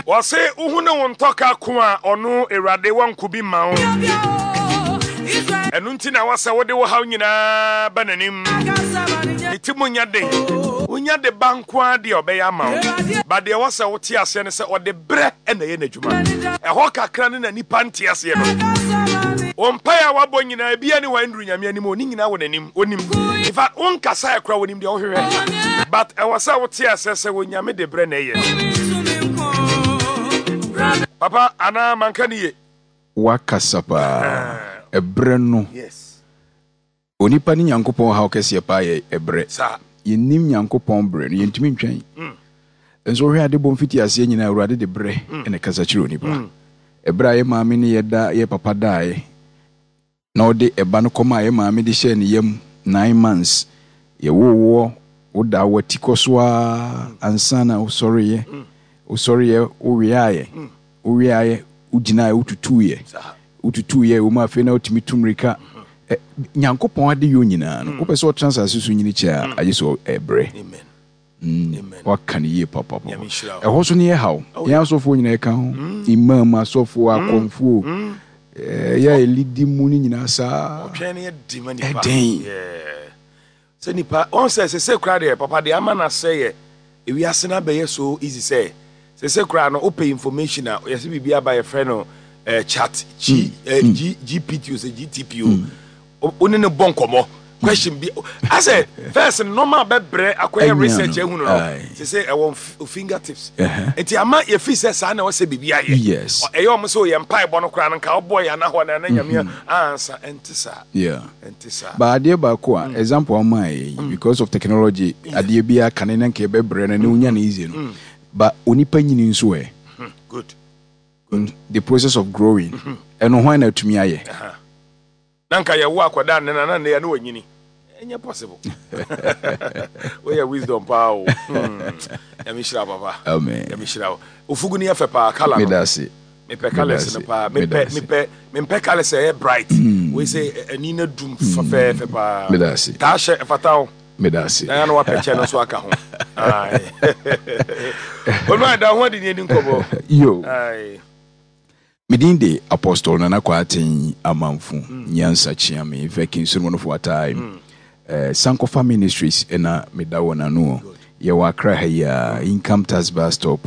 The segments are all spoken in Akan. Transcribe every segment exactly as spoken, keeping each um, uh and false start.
Wɔse wohu ne wo ntɔka ko a, ɔno Awurade wɔnko bi ma wo. Ɛno nti na wɔsɛ wode wo haw nyinaa ba n'anim. Ne ti mu nya den, wonya de ba nko ara deɛ, ɔbɛyɛ ama wo. Ba deɛ wɔsɛ wote aseɛ ne sɛ ɔde berɛ ɛna ɛyɛ n'adwuma. Ɛhɔ kakra ne na nipa nte aseɛ no. Wɔn mpaeɛ a wabɔ nyinaa, ebia ne wɔn nduru Nyame anim o, ne nyinaa wɔ n'anim. Onim. In fact, wonkasa ɛkora, wɔnim deɛ wohwehwɛ, but ɛwɔ sɛ wote aseɛ sɛ wɔ de berɛ na ɛyɛ. Papa, anaa manka ne ye? Wakasa paa. Ɛberɛ no, yes onipa ne Nyankopɔn haw kɛseɛ paa yɛ ɛberɛ. Saa. Yɛnnim Nyankopɔn berɛ no, yɛntumi ntwɛn. Nso wohwɛ ade bɔ mfiti aseɛ nyinaa, Awurade de berɛ ɛna kasa kyerɛ onipa. Ɛberɛ a yɛ maame ne yɛda yɛ papa daeɛ na ɔde ɛba no kɔma a yɛ maame de hyɛɛ ne yam nine months, yɛwowoɔ, woda w'ati kɔ so a ansa na wosɔreyɛ. Wosɔreyɛ, woweaeɛ, woweaeɛ, wogyinaeɛ, wotutuiɛ, saa wotutuiɛ wɔ mu. Afei na wotumi tu mmirika. Ɛ, Nyankopɔn ade yɛ nyinaa no, wopɛ sɛ ɔtena asase so nyini kyɛ a, agye sɛ ɛbrɛ. Amen. Amen. Waka no yie papapa. Nyame nhyira wo. Ɛhɔ so ne yɛ haw. Yɛn asɔfoɔ nyinaa ɛka ho, imam, asɔfoɔ, akɔmfoɔ, ɛɛ, yɛ a yɛlidi mu no nyinaa saa. Ɔtwɛn no yɛ di ma nipa. Ɛden. Yeah. Sɛ nipa wɔn sɛ sese kora deɛ, papa deɛ ama na sɛ yɛ ewiase na bɛyɛ so easy sɛ sese kora no, wopɛ information a, yɛsɛ biribi aba, yɛfrɛ no eh, chat G, eh, G, G P T o, sɛ G T P o, wo ne ne bɔ nkɔmmɔ, question bi asɛ first normal bɛbrɛ akɔyɛ Ɛnya research no. ehunu no. Aye. Sese ɛwɔ f- fingertips. Ɛhɛ. Nti ama yɛfi sɛ saa na ɛwɔ sɛ biribi ayɛ. Yes. Ɔ- ɛyɛ ɔmo sɛ oyɛ mpaebɔ no koraa no, nka ɔbɔ yɛ anahɔ na ɛna Nyame ansa. Ɛnte saa. Yeah. Ɛnte saa. Ba adeɛ baako a, example ama yɛ yi, because of technology, adeɛ bi aka ne na nka yɛbɛbrɛ no ne wonya no easy no, ba onipa nyini nso ɛ, Hmm, good the process of growing, ɛno hwan na atumi ayɛ? Na nka yɛwo akwadaa ne na na ne yɛ ne wanyini, ɛnyɛ possible. Woyɛ wisdom paa o. Hmm. Nyame hyira wo, papa. Amen. Nyame hyira wo. Ofugu no yɛ fɛ paa, colour no. Meda ase. Mepɛ colours no Meda ase. paa. Meda Mepɛ ase. mepɛ mempɛ colours a ɛyɛ bright wei sɛ ɛ- ani no dum fɛfɛɛfɛ paa. Meda ase. Taa hyɛ, ɛfata wo. Meda ase. Na ya na wapɛ kyɛ no nso aka ho. Aye. Ɔno ada ho ade ne ani nkɔmmɔ. Yo. Aye. Medin de Apostle Nana Kwaten Amanfo Nyansa Kyeame Vɛkin Solomon of time. eh, Sankofa Ministries ɛna meda wɔ n'ano. Yɛwɔ Accra ha yi a, Income Tax bus stop,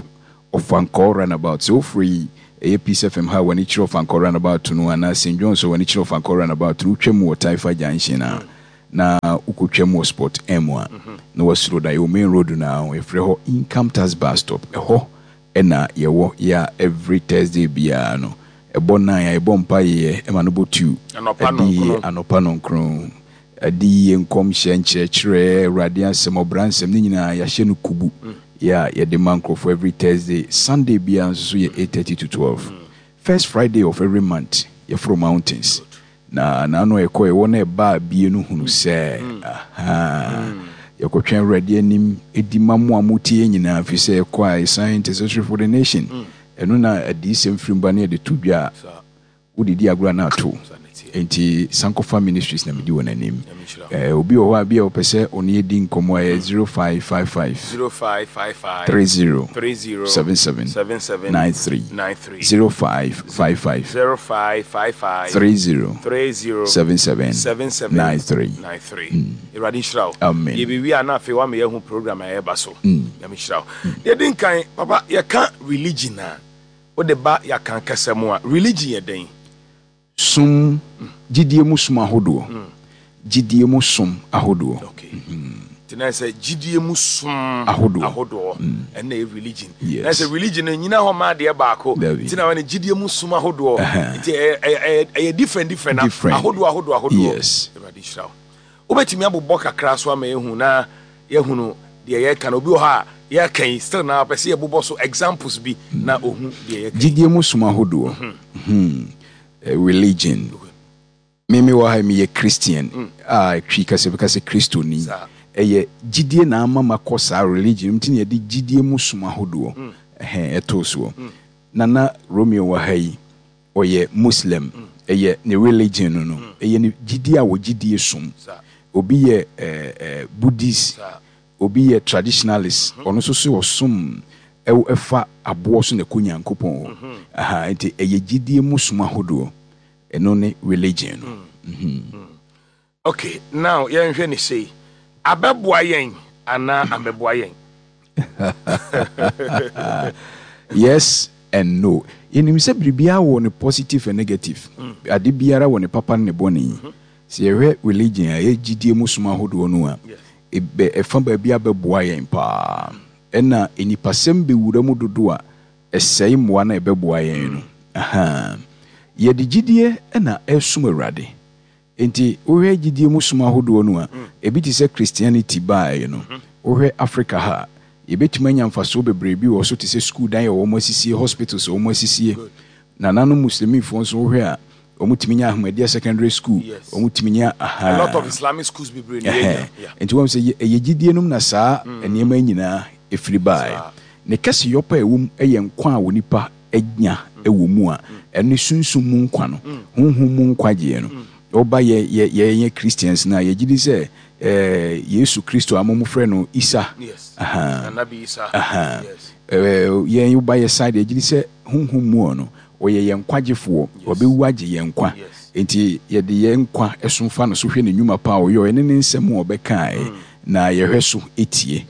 Ɔfankɔ roundabout. Sɛ wofiri ɛyɛ Peace F M ha, w'ani kyerɛ Ɔfankɔ roundabout no, anaa Saint John so, w'ani kyerɛ Ɔfankɔ roundabout no, wotwa mu wɔ Taifa Junction a, na wokɔtwa mu wɔ Spot M a, na wasuro da yɛwɔ main road no a yɛfrɛ hɔ Income Tax bus stop. Ɛhɔ ɛna yɛwɔ. Yɛ a every Thursday biara no, ɛbɔ nine a, yɛbɔ mpa yɛ ɛma no bɔ two. Anɔpa. Ɛde nɔnkron. Anɔpa nɔnkron, ɛde yie, nkɔmhyɛ, nkyerɛkyerɛ, Awurade asɛm, ɔbra nsɛm ne nyinaa yɛahyɛ no kubu yɛ a yɛde ma nkurɔfoɔ every Thursday. Sunday biara nso so yɛ eight thirty to twelve. First Friday of every month, yɛforo mountains na naano ɛkɔ ɛwɔ na ɛba bie no hunu sɛ aha yɛkɔtwɛn Awurade anim ɛdi ma mo a motie nyinaa, firi sɛ yɛkɔ a, yɛsan intercessory for the nation. Ɛno na adiyisɛm firi mba ne yɛde to dwa a, Saa. Wodedi agorɔ na ato. Saa na ɛteɛ. Nti Sankofa Ministries na medi wɔ n'anim. Nyame nhyira wo. Eh, obi wɔ hɔ a bi a wɔpɛ sɛ ɔne yɛdi nkɔmmɔ a, ɛyɛ zero five five five zero five five five three zero three zero seven seven seven seven nine three. nine three. zero five five five zero five five five three zero three zero seven seven seven seven nine three. nine three. Awurade nhyira wo. Amen. Yɛbɛwie a, na afei woama yɛahu program a ɛyɛba so. Nyame nhyira wo. Yɛdi nkan, papa, yɛka religion a, wode ba yɛaka kasa mu a, religion yɛ dɛn? Som, gyidie mu som ahodoɔ, gyidie mu som ahodoɔ. Okay, nti na sɛ gyidie mu som ahodoɔ. Ahodoɔ ɛnna ɛyɛ religion. Yes. Na sɛ religion no nyina hɔ ma adeɛ baako. Dabi. Nti na wɔne gyidie mu som ahodoɔ. Ɛhɛn. Nti ɛyɛ ɛyɛ ɛyɛ different different na Different. ahodoɔ ahodoɔ ahodoɔ. Yes. Awurade nhyira wo. Wobɛtumi abobɔ kakra so ama yɛhu na yɛhunu deɛ yɛka no. Obi wɔ hɔ a yɛka yi still na pɛ sɛ yɛbobɔ so examples bi na ohu deɛ yɛka yi. Gyidie mu som ahodoɔ. Hmm. Eh, religion, meme wɔ ha, meyɛ Christian a, Twi kasa bɛka sɛ Kristoni. Saa. Ɛyɛ gyidie na ama makɔ saa religion nti na yɛde gyidie mu som ahodoɔ ɛhɛn ɛtoo soɔ. Nana Romeo wɔ ha yi, ɔyɛ Muslim, ɛyɛ ne religion no no ɛyɛ ne gyidie a wɔgyidie som. Saa. Obi yɛ ɛɛ ɛɛ Buddhist, Saa. obi yɛ traditionalist, ɔno nso so ɔsom. Ɛfa aboɔ so na ɛkɔ Nyankopɔn hɔ. Aha, nti ɛyɛ gyidie mu som ahodoɔ. Ɛno ne religion no. Mm. Mm. Okay, now yɛnhwɛ ne sei. Abɛboa yɛn anaa ambɛboa yɛn? Yes and no. Yɛnim sɛ biribiara wɔ ne positive and negative. Mm. Ade biara wɔ ne papa ne ne bɔne. Mm -hmm. Sɛ yɛhwɛ religion a ɛyɛ gyidie mu som ahodoɔ no a, ɛfa baabi a bɛboa yɛn paa. Ɛna nipasɛm bɛwura mu dodo a, ɛsɛe mmoa na ɛbɛboa yɛn no. Aha. Yɛde gyidie na ɛsom Awurade. Enti wohwɛ gyidie mu som ahodoɔ no a, ebi te sɛ Christianity baeɛ no, wohwɛ Africa ha a, yɛbɛtumi anya mfasoɔ bebree bi wɔ so te sɛ sukuu dan a wɔn asisie, hospitals a wɔn asisie. Nananom Muslimifoɔ nso wohwɛ a, wɔn tumi nya Ahmadiyya Secondary School, wɔn tumi nya aha. A lot of Islamic schools bebree na yɛnya. Nti wɔn sɛ ɛyɛ gyidie nom na saa nneɛma nyinaa ɛfiri baeɛ. Ne kɛseyɔ pa a ɛwɔ mu yɛ nkwa a onipa anya wɔ mu a, ɛne sunsum mu nkwa no, honhom mu nkwagyeɛ no. Woba yɛ yɛ yɛyɛ Christians no a, yɛgye di sɛ eh, Yesu Kristo a mo frɛ no Isa. Yes. Aha. Anabi Isa. Aha. Yes. Eh, yɛn woba yɛ side yɛgye di sɛ honhom mu no, ɔyɛ yɛn nkwagyefoɔ, ɔbɛwu agye yɛn nkwa. Yes. Enti yɛde yɛn nkwa ɛso fa no so hwɛ ne nnwuma pa a ɔyɛ, ɛne ne nsɛm a ɔbɛkae, na yɛhwɛ so etie.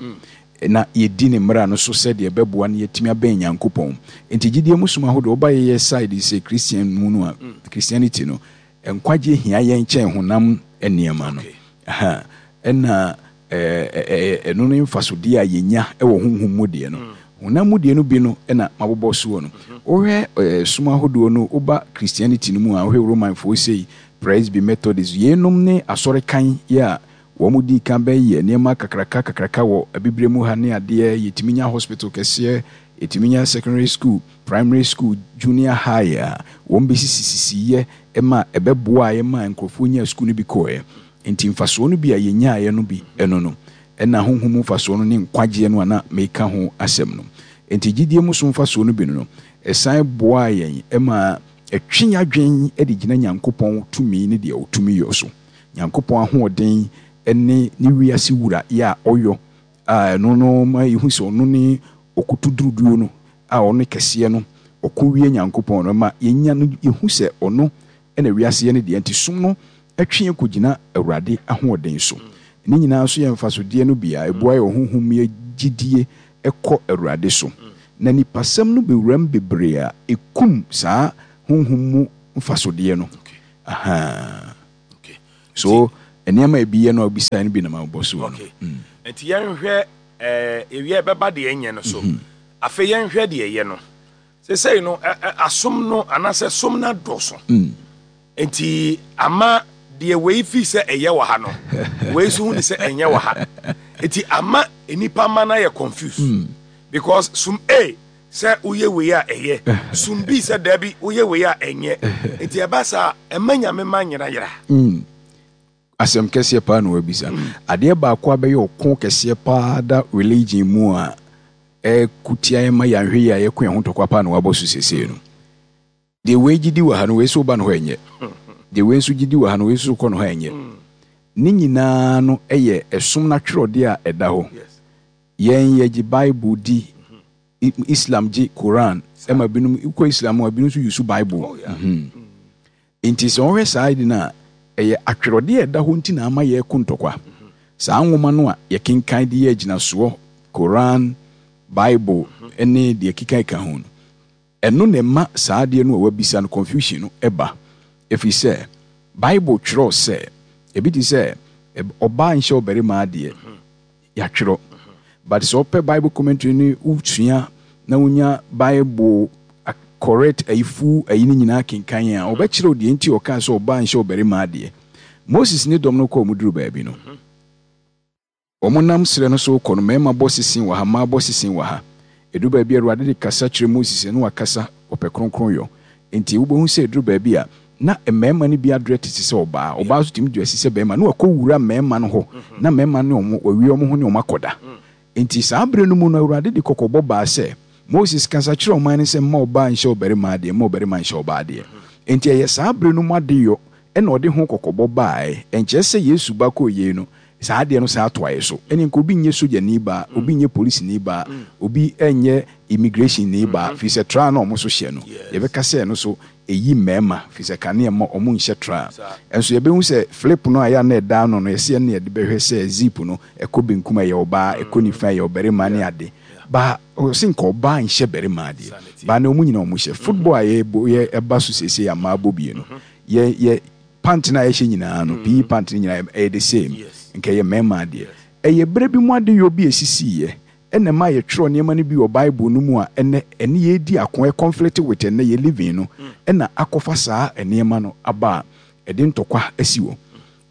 Na yɛdi ne mmara no so sɛdeɛ ɛbɛboa no yɛtumi abɛn Nyankopɔn. Enti gyidie mu som ahodoɔ, woba yɛyɛ side sɛ Christian mu no a, Christianity no, nkwagye hia yɛn kyɛn honam nneɛma no. Aha. Ɛna ɛno ne mfasodeɛ a yɛnya wɔ honhom mu deɛ no. Honam mu deɛ no bi no ɛna mabobɔ soɔ no. Wohwɛ som ahodoɔ no, woba Christianity no mu a, wohwɛ Romanfoɔ sei, Presby, Methodist, yeinom ne asɔrekan yɛ a wɔn di kan bɛyɛ nneɛma kakraka kakraka wɔ abibire mu ha ne adeɛ. Yɛtumi nya hospital kɛseɛ, yɛtumi nya secondary school, primary school, junior high a wɔn bɛsisisisiyɛ ma ɛbɛboa yɛ ma nkurɔfoɔ nya school no bi kɔɛ. Nti mfasoɔ no bi a yɛnyaeɛ no bi ɛno no, ɛna honhom mfasoɔ no ne nkwagyeɛ no a na meka ho asɛm no. Nti gyidie mu so mfasoɔ no bi no no, ɛsan boa yɛn ɛma ɛtwe adwen de gyina Nyankopɔn tumi ne deɛ ɔtumi yɔ so. Nyankopɔn ahoɔden ne ne wiase wura yɛ a ɔyɔ a ɛno no ma yɛhu sɛ ɔno ne ɔkoto duruduo no a ɔno kɛseɛ no ɔko wie Nyankopɔn no ma yɛnya no, yɛhu sɛ ɔno ɛna wiase yɛ no deɛ. Nti som no ɛtwe yɛn kɔgyina Awurade ahoɔden so. Ne nyinaa nso yɛ mfasodeɛ no bi a ɛboa yɛ ɔhonhom yɛ gyidie ɛkɔ Awurade so. Na nipasɛm no bɛwuram bebree a ɛkum saa honhom mu mfasodeɛ no. Aha. So nneɛma ebi yɛ no a obisa no bi na ma bɔ so no. Okay. Nti yɛnhwɛ eh, ewia ɛbɛba deɛ ɛnyɛ no so. Afei yɛnhwɛ deɛ ɛyɛ no. Sesei no asom no anaasɛ som no adɔso. Nti ama deɛ wei fi sɛ ɛyɛ wɔ ha no, wei nso hu ne sɛ ɛnyɛ wɔ ha. Nti ama nnipa ma no ayɛ confused. Because som A sɛ woyɛ wei a ɛyɛ, som B sɛ daabi woyɛ wei a ɛnyɛ. Nti ɛba saa ɛma Nyame ma nyerayera. Asɛm kɛseɛ paa na wabisa. Adeɛ baako a bɛyɛ ɔko kɛseɛ paa da religion mu a ɛkutia yɛn ma yɛanhwɛ yie a yɛko yɛn ho ntɔkwa paa na wabɔ so sesei no. Deɛ wei gyidi wɔ ha no, wei nso ba no hɔ ɛnyɛ. Deɛ wei nso gyidi wɔ ha no, wei nso kɔ no hɔ ɛnyɛ. Ne nyinaa no ɛyɛ ɛsom n'atwerɛdeɛ a ɛda hɔ. Yɛn yɛgye Bible di, Islam gye Koran, ɛma binom kɔ Islam a binom nso use Bible. Nti sɛ wɔhwɛ saa adi no a, ɛyɛ atwerɛdeɛ a ɛda hɔ nti na ama yɛko ntɔkwa. Saa nwoma no a yɛkenkan de yɛ agyinasoɔ, Koran, Bible ne deɛ keka ka ho no, ɛno na ɛma saa adeɛ no a wabisa no confusion no ɛba. Ɛfiri sɛ Bible twerɛ sɛ ebi te sɛ ɔbaa nhyɛ ɔbarima adeɛ, yɛatwerɛ. But sɛ ɔpɛ Bible commentary ne wosua na wonya Bible correct ayifu ayi no nyinaa kenkan a, ɔbɛkyerɛ deɛ nti ɔkaa sɛ ɔbaa nhyɛ ɔbarima adeɛ. Moses ne dɔm no kɔɔ mu duru baabi no, wɔn nam serɛ no so kɔ no, mmarima bɔ sesen wɔ ha, mmaa bɔ sesen wɔ ha. Ɛduru baabi a Awurade de kasa kyerɛ Moses na wakasa ɔpɛ kronkron yɔ. Nti wobɛhu sɛ ɛduru baabi a na mmarima no bi adrɛ te sɛ ɔbaa, ɔbaa nso tumi dress sɛ barima, na wakɔ wura mmarima no hɔ, na mmarima no ne wɔn wawie wɔn ho ne wɔn akɔda. Nti saa berɛ no mu no, Awurade de kɔkɔbɔ baa sɛ Moses kasa kyerɛ ɔman no sɛ mma ɔbaa nhyɛ ɔbarima adeɛ, mma ɔbarima nhyɛ ɔbaa adeɛ. Nti ɛyɛ saa berɛ no mu adeyɔ ɛna ɔde ho kɔkɔbɔ baeɛ. Ɛnkyerɛ sɛ Yesu ba kɔɔ yei no, Saa adeɛ no saa ato ayɛ so. Ɛne nka obi nyɛ sogyani baa, obi nyɛ polisini baa, obi nyɛ immigration ni baa, firi sɛ traa na ɔmo so hyɛ no, yɛbɛka sɛ ɛno so ɛyi mmarima, firi sɛ kanea ma ɔmo nhyɛ traa. Ɛnso yɛbɛhu sɛ flip no a yɛ a na ɛda ano no, yɛsɛ ɛno yɛde bɛhwɛ sɛ zip no ɛkɔ benkum a ɛyɛ ɔbaa, ɛkɔ nifa a ɛyɛ ɔbarima ne ade. Ba ɔsɛ nka ɔbaa nhyɛ barima adeɛ baa na ɔmo nyinaa ɔmo hyɛ. Football a yɛbɔ yɛ ɛba so seesei a mmaa bɔ bie no, yɛ yɛ pant no a yɛhyɛ nyinaa no, P E pant no nyinaa ɛyɛ the same. Nka ɛyɛ mmarima adeɛ. Ɛyɛ berɛ bi mu adeyɔ bi a ɛsisiiɛ ɛna ma yɛtwerɛ nneɛma no bi wɔ Bible no mu a ɛnɛ ɛne yɛdi ako, ɛ conflict with ɛnɛ yɛ living no, ɛna akɔfa saa nneɛma no aba a ɛde ntɔkwa asi wɔ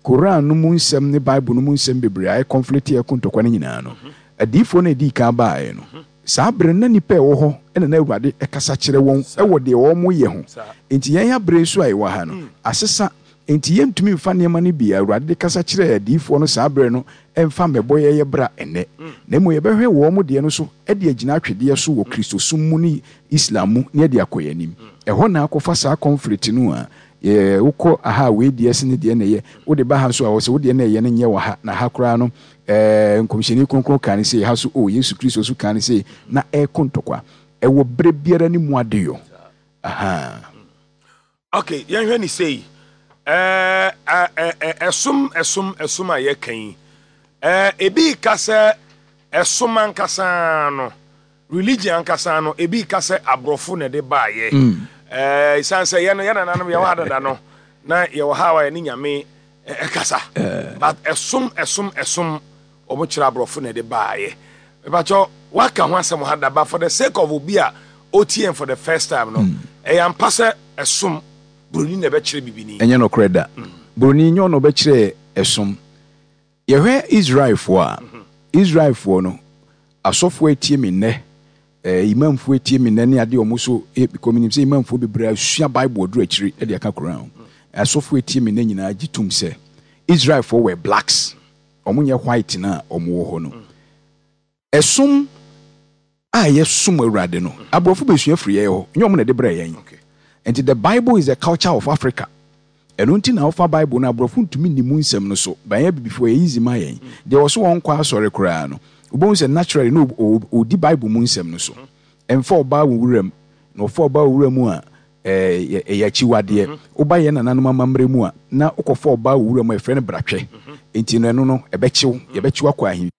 Koran no mu nsɛm ne Bible no mu nsɛm bebree a ɛ conflict, ɛko ntɔkwa no nyinaa no. Adiyifoɔ no ɛdii kan baeɛ no, saa berɛ no na nnipa a ɛwɔ hɔ ɛna na Awurade ɛkasa kyerɛ wɔn ɛwɔ deɛ wɔn yɛ ho. Nti yɛn abere nso a ɛwɔ ha no asesa, nti yɛntumi mfa nneɛma no bi a Awurade de kasa kyerɛ adiyifoɔ no saa berɛ no ɛmfa mmɛbɔ yɛyɛ bra ɛnɛ, na mmom yɛbɛhwɛ wɔn mo deɛ no so ɛde agyina atwedeɛ so wɔ Kristosom mu ne Islam mu ne ɛde akɔ yɛn anim. Ɛhɔ na akɔfa saa conflict no a yɛ wokɔ aha a, wei deɛ se ne deɛ na ɛyɛ, wode ba ha nso a, wɔ sɛ wodeɛ na ɛyɛ no nyɛ wɔ ha na ha koraa no, ɛɛ nkɔmhyɛni kronkron ka ne sɛ ha so o, Yesu Kristo so ka ne sɛ na ɛkɔ ntɔkwa. Ɛwɔ berɛ biara ne mu adeyɔ aha. Okay, yɛnhwɛ ne sei. ɛɛ ɛɛ ɛsom ɛsom ɛsom a yɛka yi, ɛɛ ebi ka sɛ ɛsom ankasa no, religion ankasa no, ebi ka sɛ aborɔfo na ɛde baayɛ. ɛɛ esan sɛ yɛn no, yɛn nananom yɛwɔ ha dada no na yɛwɔ ha a yɛne Nyame ɛkasa, but ɛsom ɛsom ɛsom wɔn kyerɛ aborɔfo na ɛde baayɛ. Mepakyɛw, waka ho asɛm ha da, but for the sake of obi a otie for the first time no, ɛyɛ ampa sɛ ɛsom, buroni na ɛbɛkyerɛ bibini? Ɛnyɛ nokorɛ da. Buroni nyɛ ɔna ɔbɛkyerɛ ɛsom. Yɛhwɛ Israelfoɔ a, Israelfoɔ no, asɔfoɔ etie me nnɛ, ɛɛ imamfoɔ etie me nnɛ ne adeɛ ɔmo so e because menim sɛ imamfoɔ bebree asua Bible aduru akyiri ɛde aka Koran ho. Asɔfoɔ etie me nnɛ nyinaa gye tom sɛ Israelfoɔ were blacks, ɔmo nyɛ white na ɔmo wɔ hɔ no. Ɛsom a yɛsom Awurade no, aborɔfo bɛsua firi yɛn hɔ, nyɛ ɔmo na ɛde brɛ yɛn. Nti the Bible is the culture of Africa. Ɛno nti na wofa Bible no, aborɔfo ntumi nni mu nsɛm no so bɛnyɛ bibifoɔ yɛ easy ma yɛn. Deɛ wɔ so wɔn kɔ asɔre koraa no, wobɛhu sɛ naturally no ɔdi Bible mu nsɛm no so. Ɛmfa ɔbaa wɔ wuram na ɔfa ɔbaa wɔ wura mu a, ɛyɛ ɛyɛ akyiwadeɛ. Woba yɛn nananom amammerɛ mu a, na wokɔfa ɔbaa wɔ wura mu a, yɛfrɛ no bratwɛ. Nti no ɛno no ɛbɛkyew, yɛbɛkyew akɔ ahemfie.